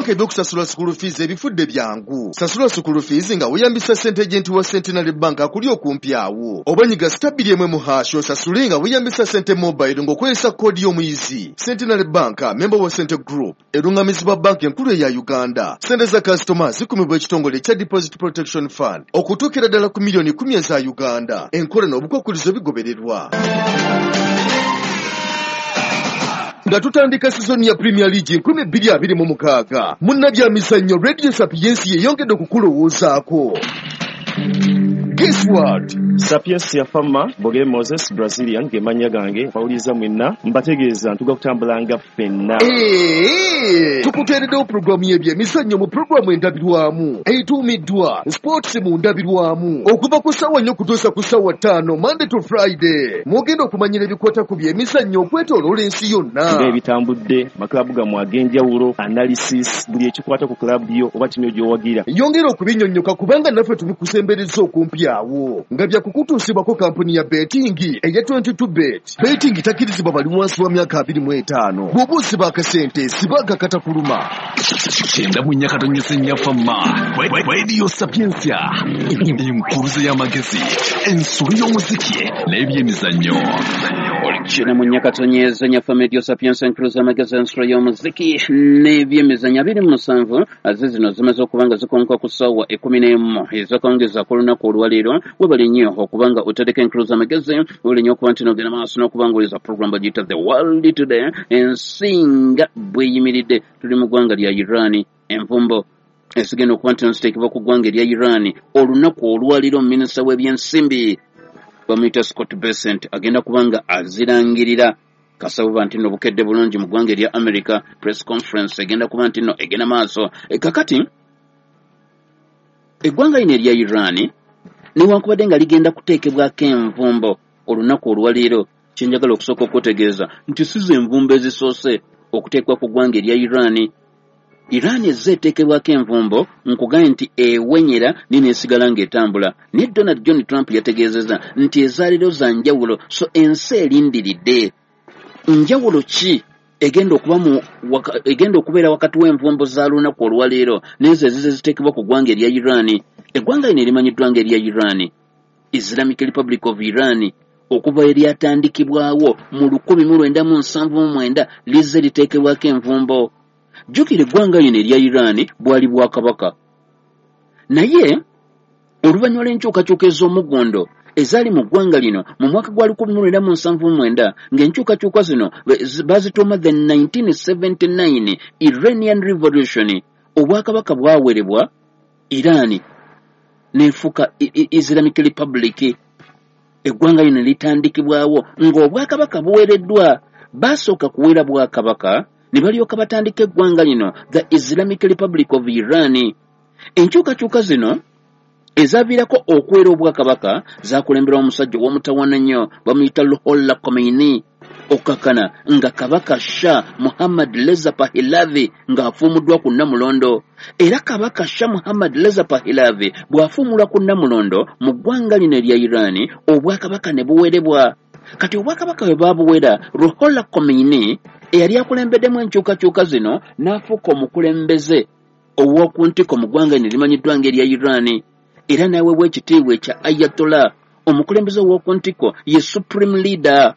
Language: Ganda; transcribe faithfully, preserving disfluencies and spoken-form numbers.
Banka ebyokusasula school fees ebifudde byangu. Sasula school fees nga weeyambisa Sente Agent wa Centenary Bank akuli okumpi awo. Oba nyiga star bbiri emu emu hash osasule nga weeyambisa Sente Mobile ng'okozesa koodi y'omuyizi. Centenary Bank, member wa Sente Group, erungamizibwa banka enkulu eya Uganda. Sente za kasitoma zikumibwa ekitongole ekya Deposit Protection Fund okutuukira ddala ku miliyoni kumi eza Uganda. Enkola n'obukwakkulizo bigobererwa. Nga tutandika sizoni ya Premier League nkumi bbiri abiri mu mukaaga, munnabyamizannyo Radio Sapiensia yeyongedde okukulowoozaako. Guess what? Sapiensia Fama, Boge Moses, Brazilian, ge mannya gange, bawuliza mwenna, mbategeeza ntuga kutambulanga ffenna. Eee, tukuteereddewo pulogulaamu y'ebyemizannyo mu pulogulaamu endabirwamu etuumiddwa Sports mu ndabirwamu okuva ku ssaawa nnya okutuusa ku ssaawa ttaano Monday to Friday. Mwogenda okumanyira ebikwata ku byemizannyo okwetooloola ensi yonna. Ng'ebitambudde, maklabu gammwe ag'enjawulo, analysis, buli ekikwata ku klabu yo oba ttiimu gy'owagira. Yongera okubinnyonnyoka kubanga naffe tubikusembereza okumpi awo nga bya kukutuusibwako kampuni ya betting eya twenty-two bet. Betting takkirizibwa bali wansi wa myaka abiri mu etaano. Bw'oba osiba akasente sibaga katakuluma. Kyenda mu nnya katonyese nnya Fama. Radio Sapiensia, enkuruze y'amagezi, ensolo y'omuziki n'ebyemizannyo. Kyenda mu nnya katonyeze nnya Fama, Radio Sapiensia, enkuruze y'amagezi, ensolo y'omuziki n'ebyemizannyo. Abiri mu musanvu aze zino zimaze okuba nga zikonka ku ssaawa ekkumi n'emu ezakawungezi ak'olunaku olwaleero. Webale nnyo okubanga otadeko enkuruze y'amagezi, webale nnyo okuba nti n'ogenda maaso n'okuba ng'oliza program bagiyita The World Today. Ensi nga bweyimiridde, tuli mu ggwanga lya Iran. Envumbo ezigenda okuba nti ziteekebwa ku ggwanga erya Iran olunaku olwaleero, minisita w'ebyensimbi bamuyita Scott Bessent agenda kuba nga azirangirira. Kasabuba nti nno bukedde bulungi mu ggwanga erya America, press conference egenda kuba nti nno egenda maaso. E, kakati eggwanga lino erya Iran newankubadde nga ligenda kuteekebwako envumbo olunaku olwaleero, kyenjagala okusooka okutegeeza nti si ze envumbo ezisoose okuteekebwa ku ggwanga erya Iran. Iran ezze eteekebwako envumbo, nkugambye nti ewenyera naye n'esigala ng'etambula. Naye Donald John Trump yategeezezza nti ezaaleero za njawulo, so ensi erindiridde. Njawulo ki egenda okuba mu waka, egenda okubeera wakati w'envumbo za lunaku olwaleero n'ezo ezize ziteekebwa ku ggwanga erya Iran? Eggwanga lino erimanyiddwa nga erya Iran, Islamic Republic of Iran, okuva eryatandikibwawo mu lukumi mu lwenda mu nsanvu mu mwenda lizze liteekebwako envumbo. Jjukira eggwanga lino erya Iran bwali bwakabaka, naye oluvannyuma lw'enkyukakyuka ez'omuggondo ezaali mu ggwanga lino mu mwaka gwa lukumi mu lwenda mu nsanvu mu mwenda, ng'enkyukakyuka zino bazituuma the nineteen seventy-nine Iranian Revolution, obwakabaka bwawerebwa Iran n'efuuka Islamic Republic. Eggwanga lino litandikibwawo ng'obwakabaka buwereddwa. Baasooka kuwera bwakabaka ne balyoka batandika eggwanga lino the Islamic Republic of Iran. Enkyukakyuka zino ezaviirako okuwera obwakabaka zakulemberwa omusajja ow'omutawaana nnyo bamuyita Ruhollah Khomeini, okkakkana nga Kabaka Shah Muhammad Reza Pahlavi ng'afuumuddwa ku Nnamulondo. Era Kabaka Shah Muhammad Reza Pahlavi bw'afuumulwa ku Nnamulondo mu ggwanga lino erya Iran, obwakabaka ne buwerebwa. Kati obwakabaka bwe baabuwera, Ruhollah Khomeini eyali akulembeddemu enkyukakyuka zino n'afuuka omukulembeze ow'oku ntiko mu ggwanga lino erimanyiddwa ng'erya Iran, era n'aweebwa ekitiibwa ekya Ayatollah. Omukulembeze ow'oku ntiko ye Supreme Leader.